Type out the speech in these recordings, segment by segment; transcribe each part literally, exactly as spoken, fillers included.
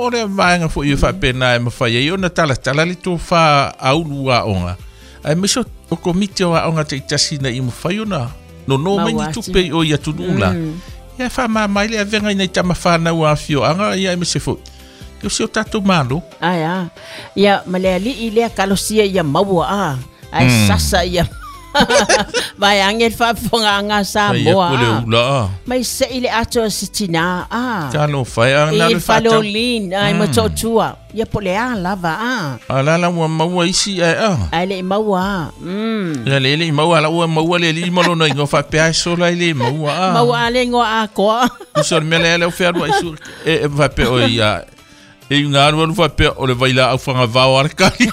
O le vaega foi e faapena e mafai ai ona talatala le tofā a ulu aoga aemaise o komiti o aoga taitasi ina ia mafai ona nono mai ni tupe i o i atunuu la. Ia e faamama ai le avega i nai tamafanau a afioaga ia aemaise foi o si o tatou Malo. Ae a. Ia ma le ali'i lea kalosia ia maua a. Ae sasa ia. Vai ange le faafofogaaga a Samoa a. Mai se'i le ato a se tinā a. Talofa e a na le Faleolin ai ma Motootua. Ia po o le a lava a. A la la ua maua isi ae a. Ae le'i maua a. Mm. Ia le le'i maua la ua maua le alii ma lona igoa faapea e sola i le maua a. Maua a le igoa atoa. Uso o le mea lea lea ua fealuai su e faapea o ia e iuga alualu faapea o le vailaau fagavao a le kali.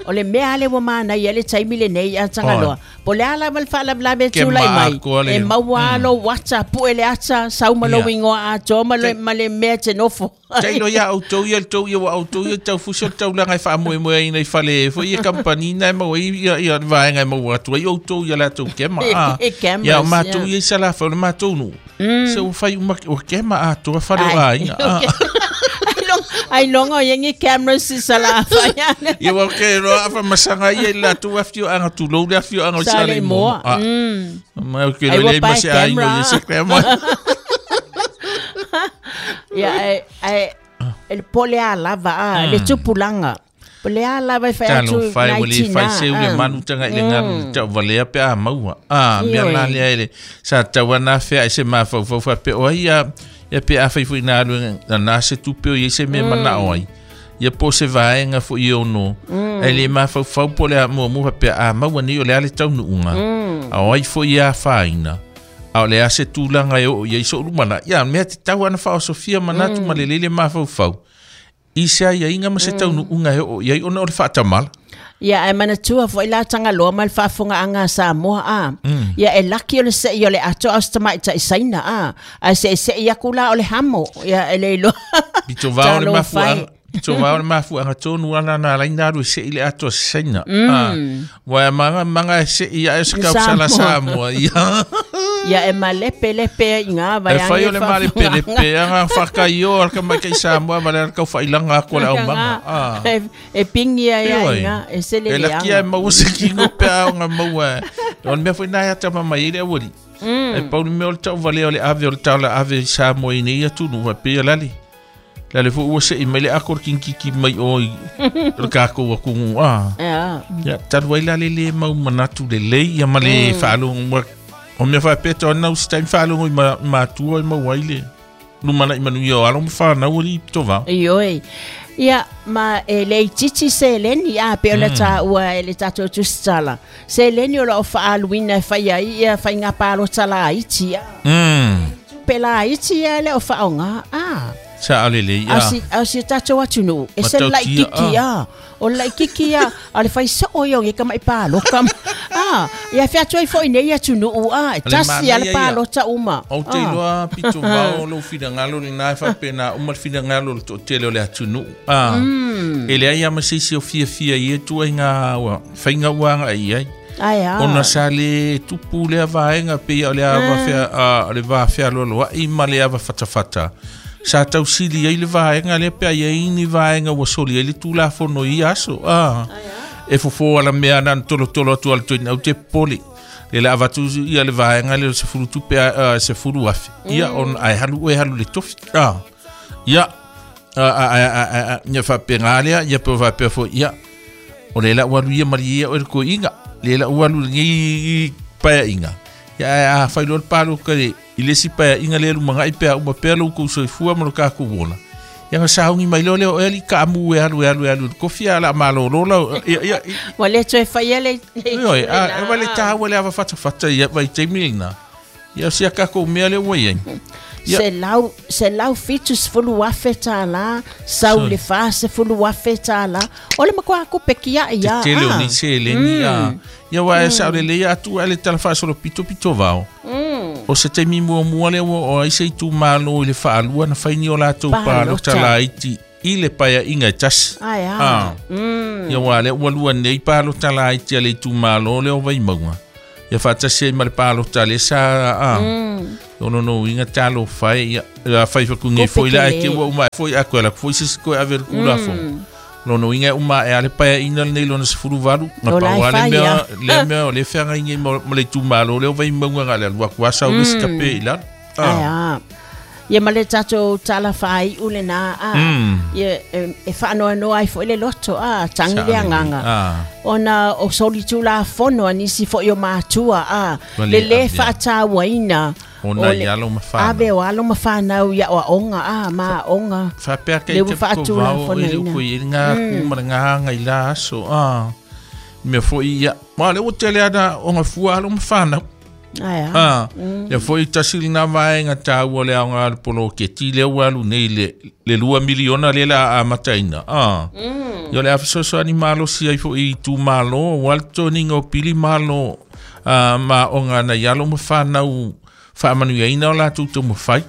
O le mea ale ua manaia le taimi lenei a Tagaloa. Po o le a lava le faalavelave e tulai mai. E maua lou ata, pue le ata, sau ma lou igoa atoa ma le, ma le mea e te nofo. Tailo ia outou ia le tou ia ua outou ia taufusi o le taulaga e faamoemoeaina i fale foi ia kamupani na e maua ai ia, ia le vaega e maua atu ai outou ia latou kema. A. Ia o matou ia i Salafai o le matou nuu. Se ua fai uma ua kema atoa fale o aiga. Ai longo ia ni cameras i Salafai. Ia ua ke roa afa masaga ia i latou afioaga tulou le afioaga o Saleimoa. Ma o ke loa le ma se aiga o ia se kema. Ia e e le po le a lava a le tupulaga. Po le a lava e fai atu nai tina. Talofa e ua le fai seu le manu taga i le galu le tauvalea pe a maua. A mea la lea e le sa tau ana afea ai se mafaufau faapea o ai ia ia pe a fai foi na alu na na se tupe o ia se mea manao ai. Ia po se vaega foi e ono. Ai le mafaufau po le a muamua faapea a maua nei o le a le taunuuga. A o ai foi ia afaina. A o le a se tulaga e oo ia i so'u lumana'i. Ia mea tatau ana faaosofia manatu ma lelei le mafaufau. I se aiaiga ma se taunuuga e oo iai ona o le faatamala. Ia ae manatua foi la Tagaloa ma le faafofogaaga a Samoa a. Ia e laki o le se'i o le ato a o se tamaita'i saina a. Ae se'ese'i aku la o le hamo. Ia e le iloa. Pito vao le mafuaaga. Pito vao le mafuaaga tonu ala na alaina alu e se'i le ato a se saina. A. Ua e maga maga e se'i ae o se kaupusala Samoa. Ia. Ia e malepelepe i ngā vai E fai o le malepelepe anga whakaio al ka mai Samoa ma le kau whailanga aku le aumaga. Ah. E, e pingi ai ai ngā, e sele E le laki ai maua se kingo pe au ngā maua. O le mea foi nai ata mama i le awali. E pau le mea o le tau vale o le ave o le taula ave i Samoa i nei atunu wa pe lale. Lale fo ua se i mai le ako le kinkiki mai o i le kākou akungu. Ah. Ia, talu ai lale le mau manatu le lei ia ma le whaalongo. O mea whaapea tau anau se taimi whaalongo i mātua i maua ai le lumana'i manuia o alo ma whanau ali i pito vao. Ioe. Ia, ma e le itiiti seleni a pe o le tāua e le tātou tusitala. Seleni o loo whaaluina e whai ai ia whainga pālota la iti a. Mm. Tupe la iti ia le o whaonga a. Sa ale le ia. Au si, au si tātou atunu. E se lai kiki a. O lai kiki a. A le whai soo i ongi ka mai pāloka. Ah, ia whea atu ai foi nei atunu a. E tasi a le pālota uma. O te iloa pito vao lou finagalo le na e faapena uma le finagalo le toatele o le atunuu. Ah, e leai ia ma se isi o fiafia i e tuaiga ua faiga ua aga'i ai. Ai a. Ona sa le tupu lea vaega pei o le ava fea a le va fealoaloa'i ma le ava fatafata. Sa tausili ai le vaega lea pe ai ai ni vaega ua soli ai le tulafono i aso. Ah. E fofo ala mea na tolotolo atu ala toina au te pole. Le la avatu ia le vaega le se fulu tupe a se fulu afe. Ia on ai halu e halu le tofi. Ah. Ia a a a a ia faapega lea ia pe faapea foi ia. O le la ua alu ia malie ia o le koiga. Le la ua alu lenei paeaiga. Ia a fai loa le paloka le i le isi paeaiga lea lumaga'i pe a uma pea lou kou soifua ma lo takou ola. Ia ga sauni mai loa lea o ea li kaamu e alu e alu e alu i le kofi a la malōlō lau ia ia Ua le toe faia le Ioe, a e vale tāua le ava fatafata ia vai taimi lena. Ia o sia kākou mea lea ua iai. Ia. Selau, selau fitu sefulu afe tālā, sau le fa sefulu afe tālā. O le matua kupe kia ia. Te tele o ni seleni a. Ia wa e sa o le leia atu a le tala faasolo pito pito vao. O se taimi muamua lea ua o ai se itumālō i le faalua na fai ni o latou palota laiti i le paeaiga e tasi. Ai a. Ah. Ia ua lea ua lua nei palota laiti a le itumālō lea o Vaimauga. Ia faatasi ai ma le palota le sa a. Ono no inga talo fai ia la fai fa kungi foi la ke ua uma foi a kola foi sis ko ave kula fo lono inga uma e ale pa ina nei lona sefulu valu na pa wale mea le mea le fanga inga mo le tumalo le vai maunga ngale lua kwa sa u skape ila ah ia ma le tatou tala fai ule na a ia e whaanoa ai fo ile loto a tangi le anganga ona o soli tula fono anisi fo yo matua a le le whaatauaina ona ia alo mawhana ave o alo mawhanau ia o onga a ma onga whapea kei te piko i uko i ngā kumara ngā hanga i la aso a mea fo ia ma le o tele ana onga fua alo mawhanau Aia. Ah, ia foi tasi lina vaenga tāua le aonga alu polo ke ti le alu nei le le lua miliona le la a mataina. Ah. Ia le afisoso ani malo si ai foi tu malo walto ningo pili malo ah ma onga na yalo mawhanau whaamanu ia ina o la tū tō mawhai.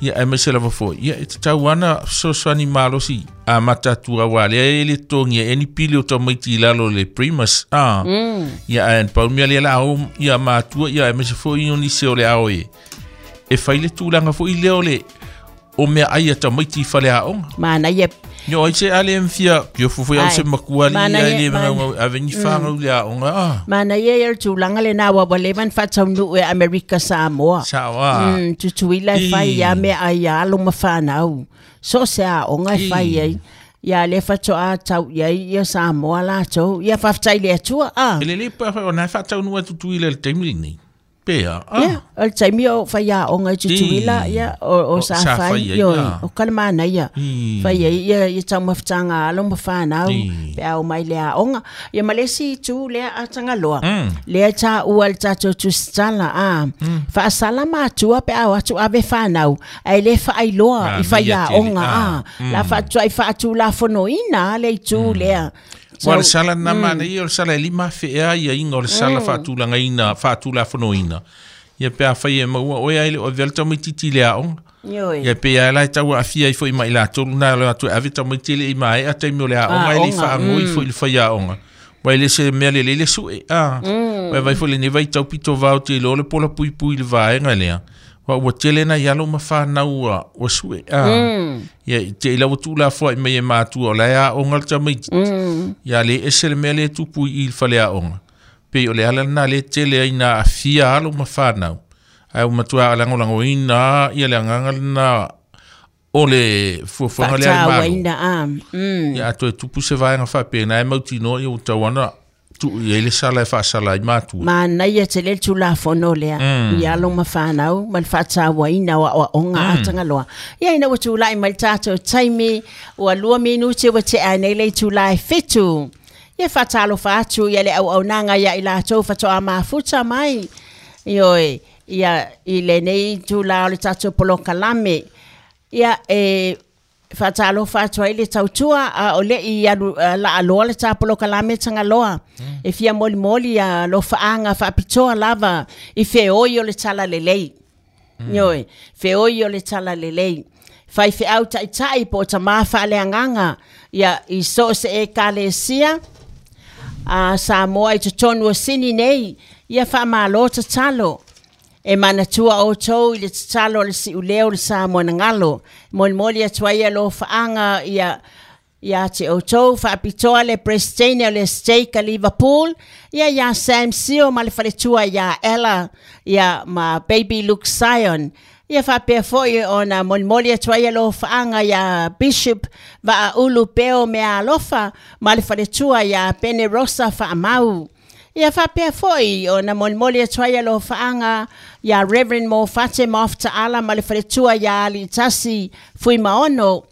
Ia e mese lava foi. Ia e te tau ana soso ani malo si a matatua wā lea e le tongi e ni pili o tamaiti lalo le primus. Ah. Mm. Ia e paumia lea la au ia matua ia e mese foi o nise o le ao e. E whai le tūlanga foi leo le o mea ai a tamaiti whale a onga. Mana ia. Yo ai se ale mfia yo fufu au se makuali ia le manga aveni whangau le a onga. Ah. Mana ia ia tūlanga le nā wawa levan whataunu e Amerika Samoa. Sawa. Mm, tutuila e whai ia mea ai alo mawhanau. So se a onga e whai ai. Ia le whatoa tau ia ia Samoa lātou. Ia whaftai le atua. Ah. Ele le pa o nā whataunu a tutuila le taimili nei. Pea. Ah. Ia, o le taimi o whai a onga i tutuila, ia, o, o sa whai, ioi, o kalamana ia. Whai ia, ia, ia tau mawhitanga alo mawhanau, pea o mai lea onga. Ia malesi tu lea a tangaloa. Lea tā ua le tātou tusitala, a. Whaasala mātua pea o atu ave whanau, ai le whaailoa i whai a onga, a. La whaatua i whaatu la fonoina, le i tū lea. Wa le sala na mana ia o le sala e lima whea ia inga o le sala whaatulanga ina, whaatula fonoina. Ia pea whai e maua oe ai le o velta mai titi le aonga. Ia pea lai taua awhia i fo i mai la tolu nā le atu ave tamaiti le i mai a taimi o le aonga i le whaangoi fo i le whai aonga. Wai le se mea le lele sue. Wai vai fo le ne vai taupito vao te lo le pola pui pui le vaenga lea. Wa ua tele na ialo mawhanau ua sue. Ia te ila ua tūla fua i mei e mātua o lea aonga le tamaiti. Ia le ese le mea le tupu i le whale aonga. Pei o le ala nā le tele ai nā awhia alo mawhanau. Ai o matua alangolango ina ia le anganga nā o le fuafuanga le ai malo. Ia ato e tupu se vaenga whapea nā e mautino ia o tauana tu ia le sala e whaasala i mātua. Mana ia te le tūla fono lea. Ia alo mawhanau, ma le whaataua ina wa o onga atangaloa. Ia ina ua tūlai mai tātou taimi, ua lua minuti ua te anei le tūlai whitu. Ia whaatalo whaatu, ia le au au nanga ia i lātou whatoa mafuta mai. Ioi, ia i le nei tūla o le tātou polokalame. Ia e whaatalo whaatua i le tautua a o le i alu, la aloa le tāpolokalame tangaloa. E fia moli moli a lo whaanga whaapitoa lava i wheoi o le tala lelei. Ioi, wheoi o le tala lelei. Whai wheau taitai po ta mawha le anganga. Ia i so se e kalesia a Samoa i totonu o sini nei. Ia whaamalo tatalo. E manatua o tau i le tatalo le siuleo le Samoa na ngalo. Moli moli atua ia lo whaanga ia ia te o tau whaapitoa le Prestine o le Steak a Liverpool. Ia ia Sam Sio ma le whaletua ia Ella ia ma Baby Luke Sion. Ia whapea foi o na moli moli atua ia lo whaanga ia Bishop va ulu peo mea alofa ma le whaletua ia Pene Rosa whaamau. Ia whapea foi o na molimoli atua ia lo whaanga ia Reverend Mo Fate Maoftaala ma le whaletua ia Ali Tasi Fui Maono.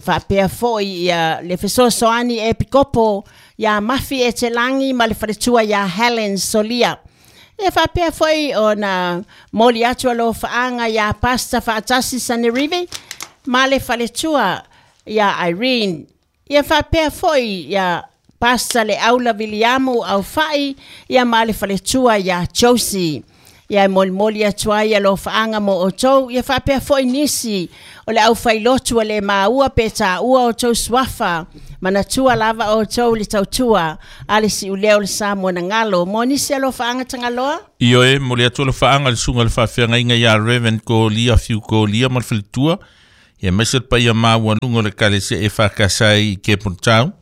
Whapea foi ia le fesoasoani e Pikopo ia Mafi e te langi ma le whaletua ia Helen Solia. Ia whapea foi o na moli atua lo whaanga ia Pastor Whaatasi Sanerive ma le whaletua ia Irene. Ia whapea foi ia Pastor le Aula Viliamu au whai ia ma le whaletua ia Josie. Ia e molimoli atu ai alofaaga mo outou ia faapea foʻi nisi o le aufailotu a le maua pe taʻua outou suafa manatua lava outou le tautua a le siʻulea o le Samoa na galo mo nisi alofaaga Tagaloa. Ioe mo le atu alofaaga le suga le faafeagaiga iā Reverend Kolia Fiu Kolia ma le faletua ia maise le paia maualuga o le kalesia e fakasai i Cape Town.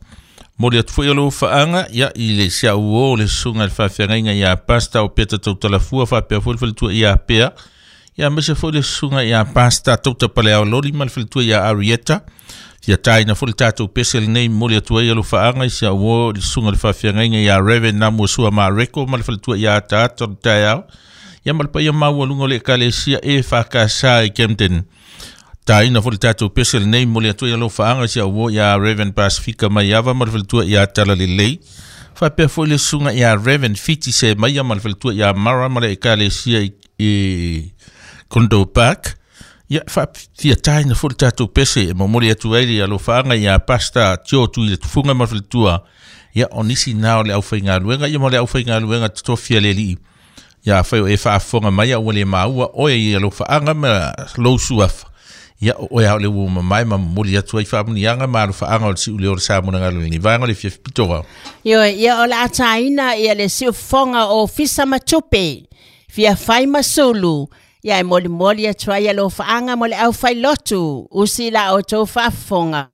Mo le atu foi alofaaga ia i le siauō le suga le faafeagaiga iā Pasta o Peta Tautalafua faapea foi le faletua iā Pea ia maise foi le suga iā Pasta Tautapaleaololi ma le faletua iā Arieta ia taina foi le tatou pese lenei mo le atu ai alofaaga i siauō le suga le faafeagaiga iā Reverend Namuasua Mareko ma le faletua iā Ataata o le taeao ia ma le paia maualuga o le ekalesia e fakasa i Camden. Taina foi le tatou pese lenei mo le atu ai alofaaga i siauō iā Reverend Pasifika Maiava ma le faletua iā Talalelei faapea foi le suga iā Reverend Fiti Se Maia ma le faletua iā Mara ma le ekalesia i, i Condo Park. Ia faafia taina foi le tatou pese e momoli atu ai le alofaaga iā Pasta Tio Tui le Tufuga ma le faletua ia o nisi na o le aufaigaluega ia ma le aufaigaluega totofia le alii ia afai o e faafofoga mai ua le maua oe i alofaaga ma lou suafa ia o oe ao le ua mamae ma momoli atu ai faamuniaga ma alofaaga o le siʻuleo o le Samoa na galo lenei vaega o le fiafi pito. Ioe ia o le a taina ia le siufofoga o Fisa Matupe fia fai masulu ia e molimoli atu ai alofaaga mo le aufailotu usi la outou faafofoga.